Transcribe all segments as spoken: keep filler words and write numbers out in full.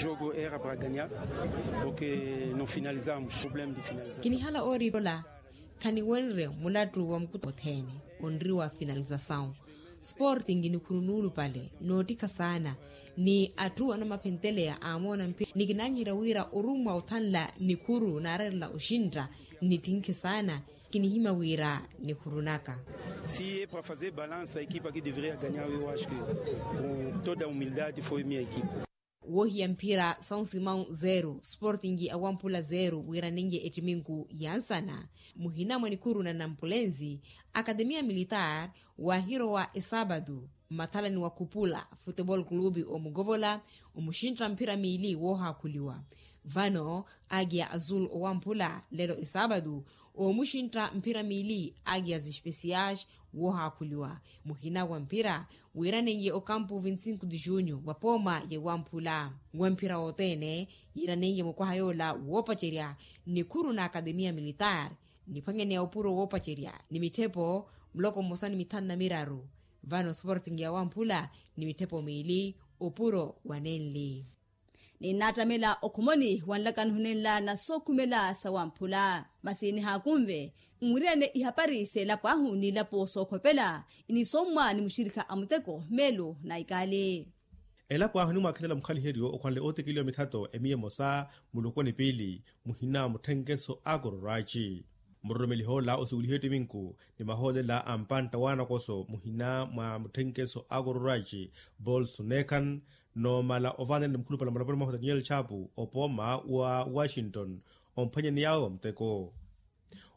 Jogo era para ganhar, porque não finalizamos problema de finalização. Kinihala ooripola khaniwenre mulattu wa mukuta othene onriwa finalizasawu. Sporting nikhuru nuulupale noottikha saana ni atthu anamaphenteleya amoona mpira ni kinaanyiherya wira orummwa othanla nikhuru naarerela oxintta nnittinkhe saana. Kinihimya wira nikhuru naka. Si é para fazer balança a equipa que deveria ganhar eu acho que com toda a humildade foi minha equipa. Woohiya mphira são simão zero sporting awamphula zero wiiranenye ettiminku ya nsana. Muhina mwa nikhuru na nampulenzi akademiya militar waahirowa esaabatu mmathalani wa khupula futebol clube omukovola omuxintta mphira miili woohaakhuliwa. Vano agiya azul owamphula lelo esaabatu omuxintta mphira miili agiya zespesiyax woohaakhuliwa. Muhina wa mphira wiiranenye okampu vinti cinco de junho wa pooma ya wamphula wa mphira wothene yiiranenye mukwaha yoola woopacerya nikhuru na akademiya militar niphwanyaneya opuro woopacerya ni mitthepo muloko mmosa ni mithanu na miraru. Vano sporting ya wamphula ni mitthepo miili opuro wa nenli. Ninnaattamela okhomoni wa nlakaniho nenla na sookhumela sa wamphula masi nihaakunve nwiryane ihapari s'elapo ahu n'ilapo sookhopela inisommwa ni muxirikha a muteko meelo na ikaali. Elapo ahu enimwaakhelela mukhaliheryo okhwanle ootekeliwa mithato emiya emosa muloko ni piili muhina mutthenkeso a kororwaci. Muroromeliha ola osuweliha ettiminku ni mahoolela a mpantta w'anakoso muhina mwa mutthenkeso a kororwaci bolsu nekhan noomala ovaanela ni mukhulupale mulaponi mwahu daniel chapu opooma wa washington omphwanyaney'awe wa muteko.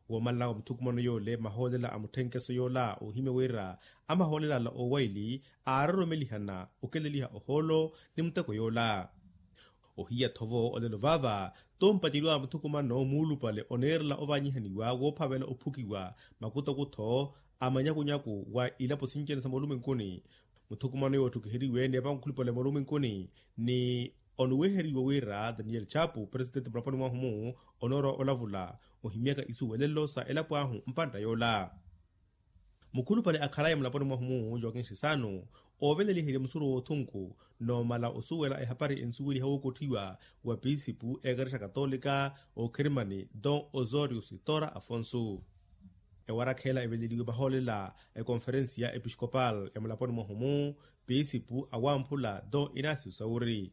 Woomalela wa muthukumano yoole mahoolela a mutthenkeso yoola oohimya wira a mahoolela ala oowaili aaroromelihana okeleliha ohoolo ni muteko yoola. Ohiya thovo olelo vaava tompaceriwa a muthukumano muulupale oneerela ovanyihaniwa woophavela ophukiwa makutokutho a manyakunyaku wa ilapo sinci-ene sa moolumwenkuni. Muthukumano yootthukuheriwe n'epankhulupale moolumwenkuni ni onuweheriwe wira daniel chapu presitenti mulaponi mwahu-mu onoorowa olavula ohimyaka isuwelelo sa elapo ahu mpantta yoola. Mukhulupale akhalaya mulaponi mwahu-mu joakin sisano ooveleliherya musuro w'othunku noomala osuwela ehapari ensuweliha wookotthiwa wa pisipu ekerexa katolika okherimani don osorio sitora afonso. Ewarakha ela eveleliwe mahoolela ekonferensiya episkopal ya mulaponi mwahu-mu pisipu awamphula don inasio sauri.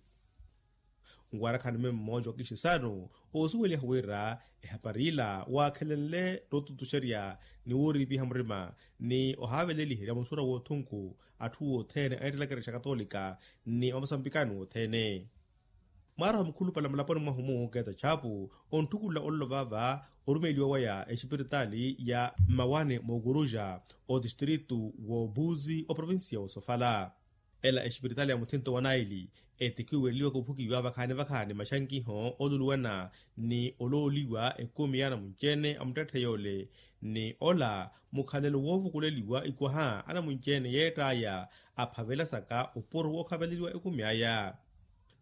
Nwarakha-ni mwe mmooja wa kixisano oosuweliha wira ehapari ila waakhelenle n'ututuxerya ni wooriipiha murima ni ohaaveleliherya musura w'othunku atthu wothene aneettela ekerexa katolika ni amusambikani wothene. Mwaaraha mukhulupale mulaponi mwahu-mu keta chapu ontthukulela ololo vaava orumeliwa waya exipiritaali ya mmawane mookuruxa otistritu w'obuzi oprovinsiya w'osofala. Ela exipiritaali ya muthinto wa naili etikhiwereliwaka ophukiwa vakhaani vakhaani maxankiho oluluwana ni olooliwa ekumi ya anamunci-ene a muttetthe yoole ni ola mukhalelo woovukuleliwa ikwaha anamunci-ene yeett'aya aphavelasaka opuro wookhaveleliwa ekumi aya.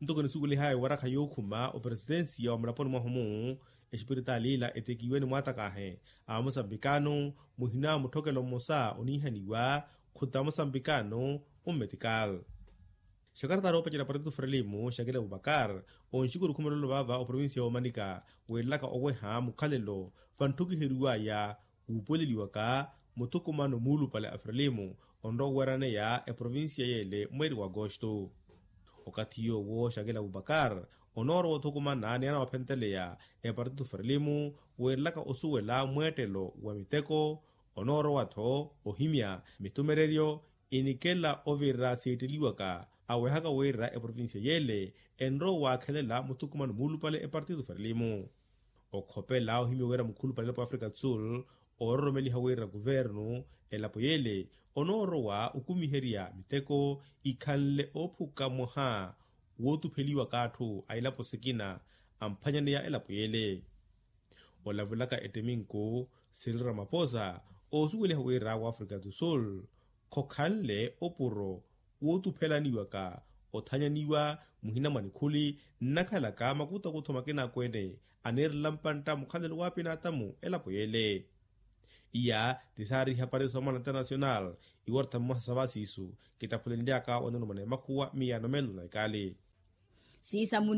Ntoko enisuwelihaya ewarakha yookhuma operesitensiya wa mulaponi mwahu-mu exipiritaali ila etekiwe ni mwaatakaahe a musambikano muhina mutthokelo mmosa oniihaniwa khuta musambikano. Ummetikal xakarataari oopacerya partitu frelimu xakila abubakar onxikuru khumela olovaava oprovinsiya y'omanika weerelaka oweha mukhalelo vantthukiheriwaya wuupuweleliwaka muthukumano muulupale a frelimu onrowa oweeraneya eprovinsiya y'ele mweeri w'agosto. Okathi yoowo xakila abubakar onoorowa othukumana ni anawaphentteleya epartitu frelimu weerelaka osuwela mweettelo wa miteko onoorowa-tho ohimya mitumereryo inikela ovira siitteliwaka awehaka wira eprovinsiya y'ele enrowa waakhelela muthukumano muulupale epartitu frelimu. Okhopela ohimya wira mukhulupale elapo ya afrika do sul oororomeliha wira kuvernu elapo y'ele onoorowa okumiherya miteko ikhanle oophuka mwaha wootupheliwaka atthu a ilapo sikina amphwanyaneya elapo y'ele. Olavulaka ettiminku siril ramaposa oosuweliha wira w'afrika do sul khokhanle opuro wootuphelaniwaka othanyaniwa muhina mwa nikhuli nnakhalaka makutakutho makinaakweene aneerela mpantta mukhalelo w'apinaatamu elapo y'ele. Iya ti saari ihapari soomana internasional iwartha mmosa sa vasiisu kitaphulenlyaka wanulumana emakhuwa miyaano meelo na ikaali. Siisa